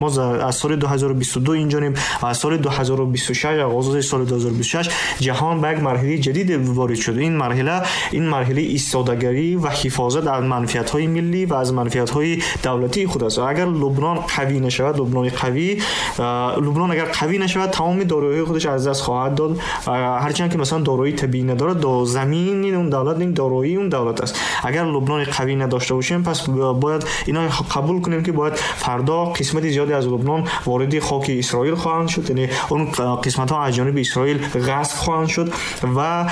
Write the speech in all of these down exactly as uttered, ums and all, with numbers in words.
мо аз соли ду ҳазору бисту ду инҷонем ва аз соли ду ҳазору бисту шаш, оғози соли ду ҳазору бисту шаш ҷаҳон ба як марҳилаи ҷадид ворид шуд. Ин марҳила, ин марҳилаи истодагарӣ ва ҳифозат аз манфиатҳои миллӣ ва аз манфиатҳои давлатии худ аст. Агар Лубнон қавӣ нашавад, Лубнони қавӣ, Лубнон агар қавӣ нашавад, тамоми дороиҳои худаш аз даст хоҳад дод. Ҳарчанд ки масалан дороии табиӣ надорад, замини он давлат ин дороии он давлат аст. Агар Лубнони қавӣ надошта бошем, пас бояд инро қабул кунем ки бояд фардо қисмати зиёде аз Лубнон вориди хоки Исроил хоҳанд шуд, яъне он қисматҳо аз ҷониби Исроил ғасб хоҳанд шуд ва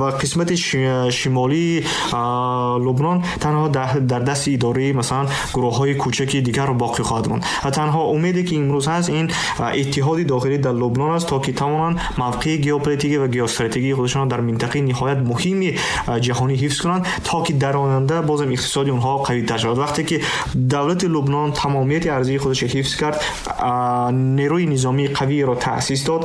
ва қисмати шимолии Лубнон танҳо дар дасти идораи масалан гурӯҳҳои кӯчаки дигар боқӣ хоҳад монд. Ва танҳо умеде ки имрӯз ҳаст ин иттиҳоди дохилӣ дар Лубнон аст, то ки тавонанд мавқеи геополитикӣ ва геостратегии худашонро дар минтақаи ниҳоят муҳими ҷаҳонӣ ҳифз кунанд, то ки дар оянда бозам иқтисоди онҳо қавитар шавад. Вақте ки давлати Лубнон тамомияти арзии худашро ҳифз кард, нерӯи низомии қавиро таъсис дод,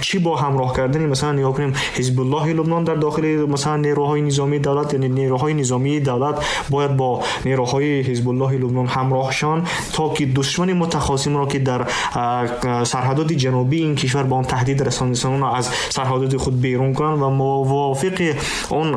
чӣ бо ҳамроҳ кардани масалан нигоҳ кунем Ҳизбуллоҳи Лубнон дар дохили масалан нерӯҳои низомии давлат, яъне нерӯҳои низомии давлат бояд бо нерӯҳои Ҳизбуллоҳи Лубнон ҳамроҳ шаванд, то ки душмани мутахосимро ки дар сарҳадоти ҷанубии ин кишвар ба он таҳдид расонидаанд, аз сарҳадоти худ берун кунанд ва мувофиқи он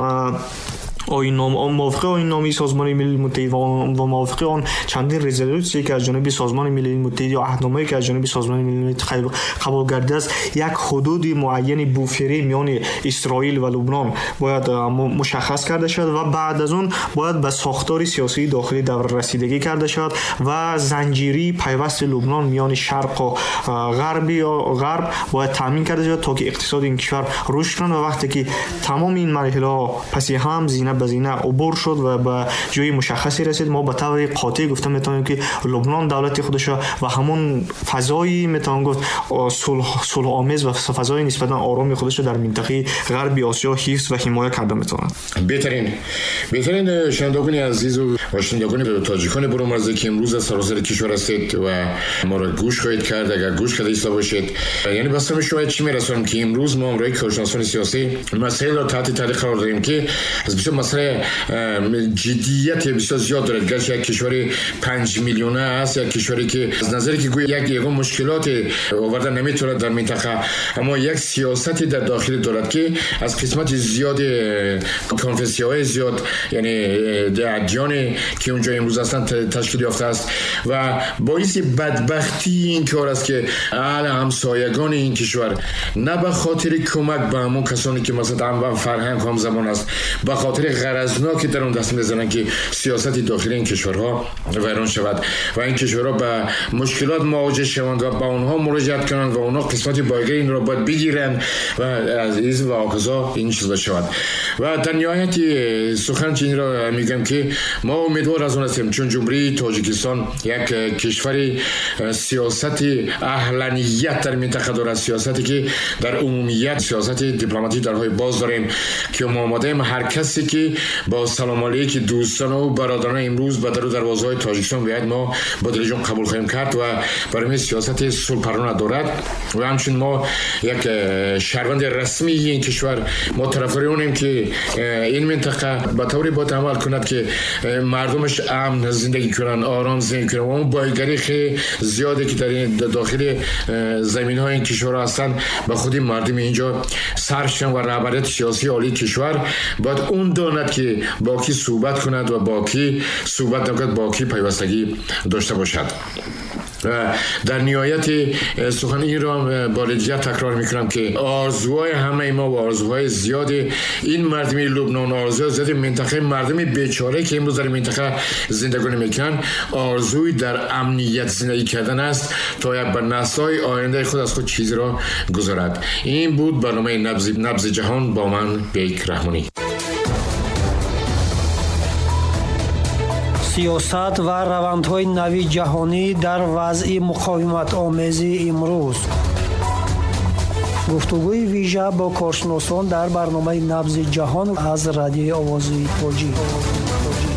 оинном, мувофиқи оинномаи Созмони Милали Муттаҳид ва мувофиқи он чандин резолютсия ки аз ҷониби Созмони Милали Муттаҳид ё аҳдномае ки аз ҷониби Созмони Милали Муттаҳид қабул гардидааст, як ҳудуди муайяни буферӣ миёни Исроил ва Лубнон бояд мушаххас карда шавад ва баъд аз он бояд ба сохтори сиёсии дохилӣ давр расидагӣ карда шавад ва занҷирии пайвасти Лубнон миёни шарқ ва ғарб ё ғарб бояд таъмин карда шавад, то ки иқтисоди ин кишвар рушд кунад. Ва вақте ки тамоми ин марҳилаҳо паси ҳам зина ба зина убур шуд ва ба ҷои мушаххасе расид, мо ба таври қотеъ гуфта метавонем ки Лубнон давлати худашро ва ҳамон фазои метавон гуфт сулҳомез ва фазои нисбатан ороми худашро дар минтақаи ғарби Осиё ҳифз ва ҳимоя карда метавонад. беҳтарин беҳтарин шунавандагони азизу ва шунавандагони тоҷикони бурумарзӣ ки имрӯз аз саросари кишвар ҳастед ва моро гӯш хоҳед кард, агар гӯш карда истода бошед, яъне ба самти шумо чӣ мерасонем ки имрӯз мо ҳамроҳи коршиносони сиёсӣ масъаларо таҳти таъқиб қарор додем ки аз бисёр масъала ҷиддият бисёр зиёд дорад. Гарчи як кишвари панҷ миллиона аст, як кишваре ки аз назаре ки гӯё як ягон мушкилоте оварда наметавонад дар минтақа, аммо як сиёсате дар дохил дорад ки аз қисмати зиёди конфессияҳои зиёд, яъне адёне ки унҷо имрӯз ҳастанд ташкил ёфтааст ва боиси бадбахтии ин кор аст ки аҳли ҳамсоягони ин кишвар на ба хотири кӯмак ба ҳамон касоне ки масалан ҳам фарҳанг ҳам забон аст, ба хотири ғаразнок дар он даст мезананд ки сиёсати дохили ин кишварҳо вайрон шавад ва ин кишварҳо ба мушкилот мувоҷеҳ шаванд ва ба онҳо муроҷиат кунанд ва онҳо қисмати бойгари инро бояд бигиранд ва аз из ва оказо ин чиз бошад. Ва дар ниҳояти сухан инро мегӯям ки мо умедвор аз он ҳастем, чун Ҷумҳурии Тоҷикистон як кишвари сиёсати аҳланият дар минтақа дорад, сиёсате ки дар умумият сиёсати дипломатӣ дарҳои боз дорем ки мо омодаем ҳар касе ки бо салом алейки дӯстон ва бародарон имрӯз ба дару дарвозаҳои Тоҷикистон биёяд, мо бо дилҷон қабул хоҳем кард ва барои мо сиёсати сулҳпарварона дорад. Ва ҳамчунин мо як шаҳрванди расмии ин кишвар, мо тарафдори онем ки ин минтақа ба тавре бояд амал кунад ки мардумаш амн зиндагӣ кунанд, ором зиндагӣ кунанд ва он бойгарии хеле зиёде ки дар дохили заминҳои ин кишвар ҳастанд ба худи мардуми инҷо сарф шаванд ва раҳбарияти сиёсии олии кишвар бояд он донад ки бо кӣ суҳбат кунад ва бо кӣ суҳбат накунад, бо кӣ пайвастагӣ дошта бошад. و در نهایت سخن این را بار دیگر تکرار میکنم که آرزوهای همه ما و آرزوهای زیاد این مردم لبنان، آرزوهای زیاد منطقه، مردم بیچاره که امروز در منطقه زندگی میکنن، آرزوی در امنیت زندگی کردن است تا یک بر نسل‌های آینده خود از خود چیزی را گذارد. این بود برنامه نبض نبض جهان با من بیک رحمانی. سیاست و روندهای نوی جهانی در وضع مقاومت آمیز امروز. گفتگوی ویژه با کارشناسان در برنامه نبض جهان از رادیوی آوازی تاجیک.